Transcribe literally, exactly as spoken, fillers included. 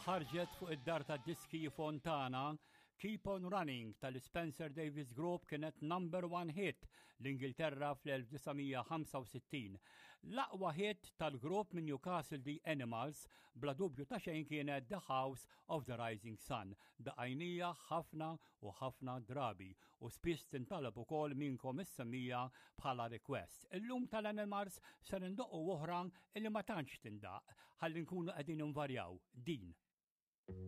Ħarġet fuq id-dar ta' diski Fontana, Keep on Running tal-Spencer Davis Group kienet number one hit l-Ingilterra fl-elf disa' mija ħamsa u sittin. L-aqwa hit tal-grupp minn Newcastle, The Animals, bla dubju ta' xejn kienet The House of the Rising Sun. Daqqejnieha ħafna u ħafna drabi u spiss tintalab ukoll minnkom is-semmiegħa bħala request. Illum tal-Animals ser indoqqu oħra illi ma tantx tindaq ħalli nkunu qegħdin invarjaw din.